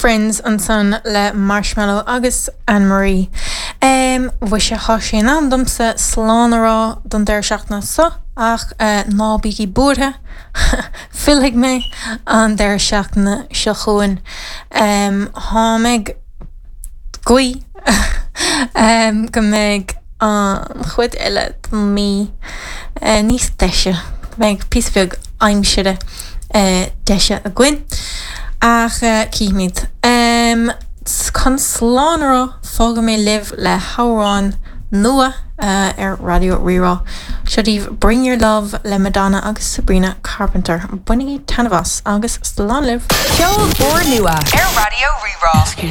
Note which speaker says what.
Speaker 1: Friends ansan le Marshmello agus Anne Marie. Mhuise, tá sé in am domsa slán a rá don deireadh seachtaine seo ach ná bígí buartha, fillfidh mé an deireadh seachtaine seo chugainn. Táim ag guí go mbeidh an chuid eile den mí níos deise, go mbeidh píosa beag aimsire deise againn. Ach cífimid. Chun slán a rá, fágfaidh mé libh le hamhrán nua ar Raidió Rí-Rá. Seo daoibh Bring Your Love le Madonna agus Sabrina Carpenter. Bainigí taitneamh as agus slán libh!
Speaker 2: Ceol úrnua ar Raidió Rí-Rá.